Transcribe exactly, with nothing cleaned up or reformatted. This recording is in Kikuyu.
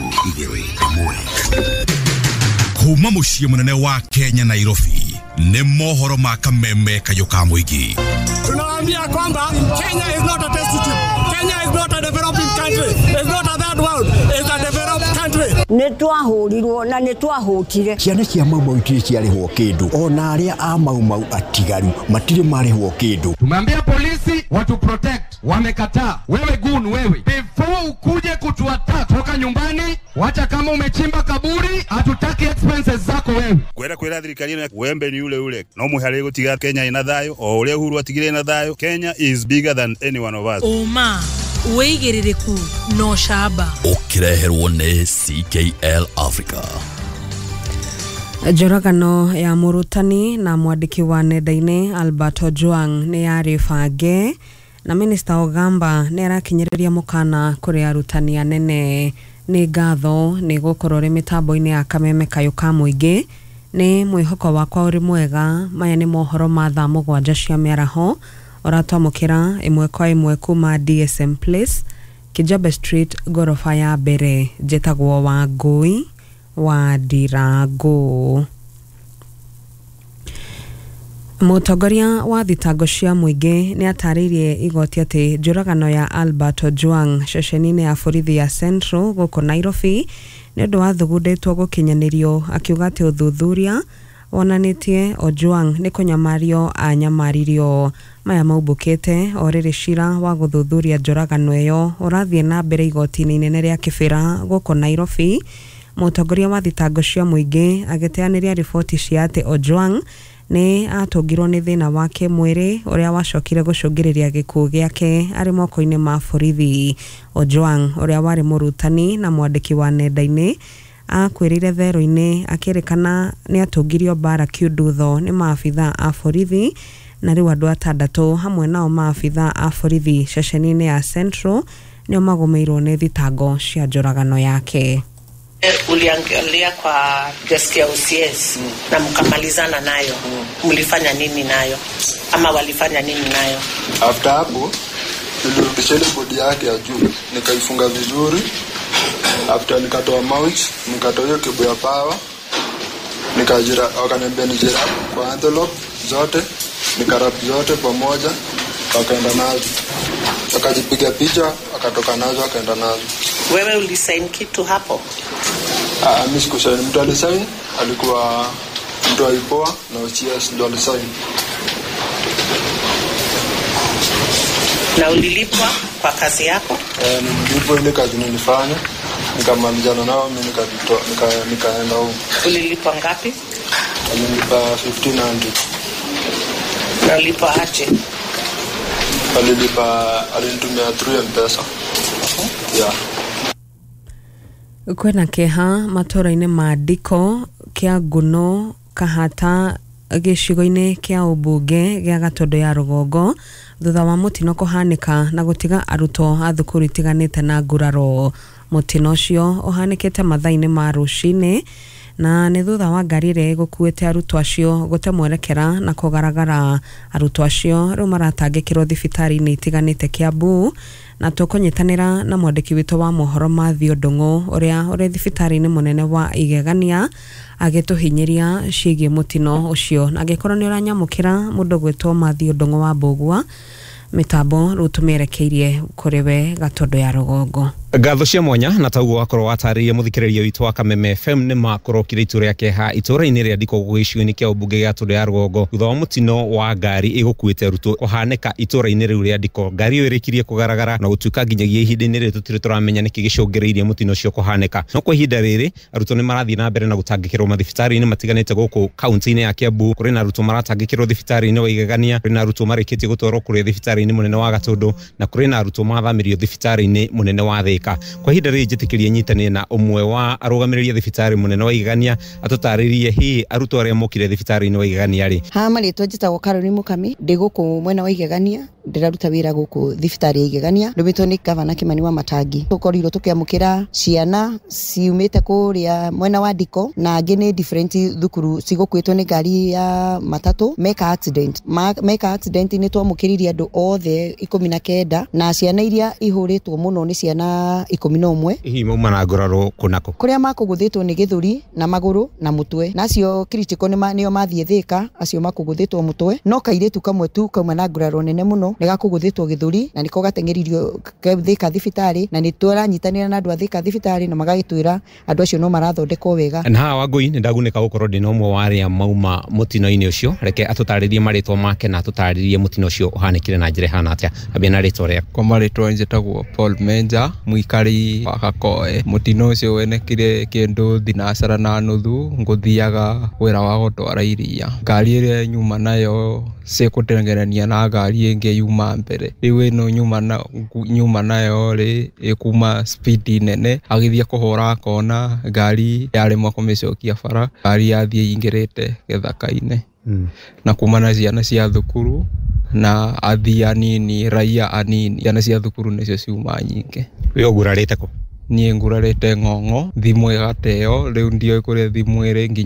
Igĩrĩ ĩmwe kuma mũciĩ mũnene wa Kenya, Nairobi, nĩ mohoro ma kameme kayũ ka mũingĩ. Tunawaambia kwamba Kenya is not a test tube. Kenya is not a developing country. It's not a third world. It's a developed country. Nĩ twahũrirwo na nĩ twahũtire. Ciana cia Mau Mau itirĩ ciarĩhwo kĩndũ, ona arĩa a Mau Mau atigaru matirĩ marĩhwo kĩndũ. Tumeambia polisi watu protect, wamekataa. Wewe gun wewe, before ukuje kutuattack, toka nyumbani, wacha kama umechimba kaburi, hatutaki expenses zako wewe. Kwenda kwira thirikari ĩno, wembe ni ule ule, no mũhare gũtiga Kenya ina thayũ o ũrĩa Uhuru atigire ina thayũ. Kenya is bigger than any one of us. Ũma, wĩigĩrĩrĩku na ũcamba. Ũkĩreherwo nĩ C K L Africa. Njũragano ya mũrutani na mwandĩki wa nenda-inĩ Albert Ojwang nĩ yarĩ bange, na Minista Ogamba nĩ arakinyĩrĩria mũkana kũrĩ arutani anene. Nĩ ngatho nĩ gũkorwo ũrĩ mĩtambo-inĩ ya kameme kayũ ka mũingĩ. Nĩ mwĩhoko wakwa ũrĩ mwega. Maya nĩ mohoro ma thaa mũgwanja cia mĩaraho, ũratwamũkĩra ĩmwe kwa ĩmwe kuma D S M Place, Kijabe Street, ngoroba ya mbere. Njĩtagwo Wangũi wa Ndirango. Mũtongoria wa thitango cia mũingĩ nĩ atarĩirie igoti atĩ njũragano ya Albert Ojwang ceceni-inĩ ya borithi ya Central gũkũ Nairobi nĩ ũndũ wathugundĩtwo gũkinyanĩrio, akiuga atĩ ũthuthuria wonanĩtie Ojwang nĩ kũnyamario anyamaririo. Maya maumbũkĩte o rĩrĩ cira wa gũthuthuria njũragano ĩyo ũrathiĩ na mbere igoti-inĩ inene rĩa Kibera gũkũ Nairobi. Mũtongoria wa thitango cia mũingĩ agĩteanĩria riboti cia atĩ Ojwang nĩ atũngirwo nĩ thĩna wa kĩmwĩrĩ ũrĩa wacokire gũcũngĩrĩria gĩkuũ gĩake arĩ moko-inĩ ma borithi. Ojwang, ũrĩa warĩ mũrutani na mwandĩki wa nenda-inĩ, akuĩrĩire thero-inĩ akĩrĩkana nĩ atũngirio mbara kiundutho nĩ maabitha a borithi, na rĩu andũ atandatũ, hamwe nao maabitha a borithi ceceni-inĩ ya Central, nĩo magũmĩirwo nĩ thitango cia njũragano yake. Uliangalia kwa desk ya O C S mm. na mkamalizana nayo mm. Mlifanya nini nayo ama walifanya nini nayo? After hapo nilirudisha ile bodi yake ya juu, nikaifunga vizuri. After nikatoa mount, nikatoa hiyo cable ya power, nikajira, wakaniambia nijiwrap kwa envelope zote, nikawrap zote pamoja, wakaenda nazo, wakajipiga picha, wakatoka nazo, wakaenda nazo. Wewe ulisign kitu hapo? Ah, mimi sikusaini. Mtu alisign alikuwa mtu wa I P O A na O C S ndo alisign. Na ulilipwa kwa kazi yako? Eh, nililipwa ile kazi nilifanya, nikamalizana nao, mimi nikajitoa, nika nikaenda huko. Ulilipwa ngapi? Alinipa elfu moja mia tano. Na ulipwa aje? Alilipa, alinitumia through M-Pesa. Yeah. Kwĩna kĩeha matũũra-inĩ ma Ndiko, Kĩanguno, Kahata, gĩcigo-inĩ kĩa ũmbunge gĩa Gatũndũ ya rũgongo, thutha wa mũtino kũhanĩka na gũtiga arutwo a thukuru itiganĩte na nguraro. Mũtino ũcio ũhanĩkĩte mathaa-inĩ ma rũcinĩ, na nĩ thutha wa ngari ĩrĩa ĩgũkuĩte arutwo acio gũte mwerekera na kũgaragara. Arutwo acio rĩu maratangĩkĩrwo thibitarĩ-inĩ itiganĩte Kiambu, na tũkũnyitanĩra na mwandĩki witũ wa mohoro Mathew Ndung'u, ũrĩa ũrĩ thibitarĩ-inĩ mũnene wa Igegania, agĩtũhinyĩria ciĩgiĩ mũtino ũcio. Na angĩkorwo nĩ ũranyamũkĩra, mũndũ gwĩtwo Mathew Ndung'u wa Mbũgua, mĩtambo rĩu tũmĩerekeirie kũrĩ we Gatũndũ ya rũgongo. Ngatho cia mwanya, na tauguo wakorwo watarĩria mũthikĩrĩria witũ wa Kameme F M, nĩ makorokire itũra rĩa kĩeha itũra-inĩ rĩa Ndiko gĩcigo-inĩ kĩa ũmbunge gĩa Gatũndũ ya rũgongo, thutha wa mũtino wa ngari ĩgũkuĩte arutwo kũhanĩka itũra-inĩ rĩu rĩa Ndiko. Ngari ĩyo ĩrĩkirie kũgaragara na gũtuĩka nginyagia ihinda-inĩ rĩrĩ tũtirĩ tũramenya nĩkĩ gĩcũngĩrĩirie mũtino ũcio kũhanĩka, no kwa ihinda rĩrĩ arutwo nĩ marathiĩ na mbere na gũtangĩkĩrwo mathibitarĩ-inĩ matiganĩte gũkũ kaunti-inĩ ya Kiambu. Kũrĩ na arutwo maratangĩkĩrwo thibitarĩ-inĩ wa Igegania, kũrĩ na arutwo marĩkĩtie gũtwarwo kũrĩa thibitarĩ-inĩ mũnene wa Gatũndũ, na kũrĩ na arutwo mathamĩrio thibitarĩ-inĩ mũnene wa Thĩka. Kwa ihinda rĩrĩ njĩtĩkĩrie nyitanĩre na ũmwe wa arũgamĩrĩri a thibitarĩ mũnene wa Igegania atũtarĩrie hihi arutwo arĩa mokire thibitarĩ-inĩ wa Igegania rĩ. Ha marĩtwa njĩtagwo Caroline Mukami, ndĩ gũkũ mwena wa Igegania, ndĩraruta wĩra gũkũ thibitarĩ ya Igegania, ndũmĩtwo nĩ gavana Kimani wa Matangi. Tũkorirwo tũkĩamũkĩra ciana ciumĩte kũrĩa mwena wa Ndiko, na angĩ nĩ different thukuru cigũkuĩtwo nĩ ngari ya matatũ meka accident. Ma, meka accident nĩ twamũkĩririe andũ othe ikũmi na kenda, na ciana iria ihũrĩtwo mũno nĩ ciana ciana ikũmi na ũmwe. Hihi mauma na nguraro kũnako? Kũrĩa makũgũthĩtwo nĩ gĩthũri na magũrũ na mũtwe, na acio critical nĩ nĩo mathiĩ Thĩka, acio makũgũthĩtwo mũtwe, no kairĩtu kamwe tu kauma na nguraro nene mũno nĩ gakũgũthĩtwo gĩthũri na nĩko gateng'eririo Thĩka thibitarĩ, na nĩ tũranyitanĩra na andũ a Thĩka thibitarĩ na magagĩtwĩra andũ acio no marathondekwo wega. Na haha Wangũi nĩ ndagunĩka gũkorwo ndĩna ũmwe wa arĩa mauma mũtino-inĩ ũcio. Reke atũtarĩrie marĩtwa make na atũtarĩrie mũtino ũcio ũhanĩkire na njĩra ĩhana atĩa. Ambia na rĩtwa rĩaku. Kwa marĩtwa njĩtagwo Paul Menja, mũikari wa Gakoe. Mũtino ũcio wenekire kĩndũ thinacara na nuthu, ngũthiaga wĩra wa gũtwara iria. Ngari ĩrĩa nyuma nayo cikũtengerania na ngari ĩngĩ yuma mbere. Rĩu ĩno nyuma na nyuma nayo rĩ ĩkuma speed nene, agĩthiĩ kũhũra kona, ngari yaremwo kũmĩcokia bara, ngari yathiĩ ingĩrĩte gĩthaka-inĩ. Mm. Na kuma na ciana cia thukuru na athii anini, raia anini, ciana cia thukuru nĩcio ciuma nyingĩ. We ũgurarĩte kũ? Niĩ ngurarĩte ng'ong'o, thimũ ĩgateo, rĩu ndiũĩ kũrĩa thimũ ĩrĩ nginya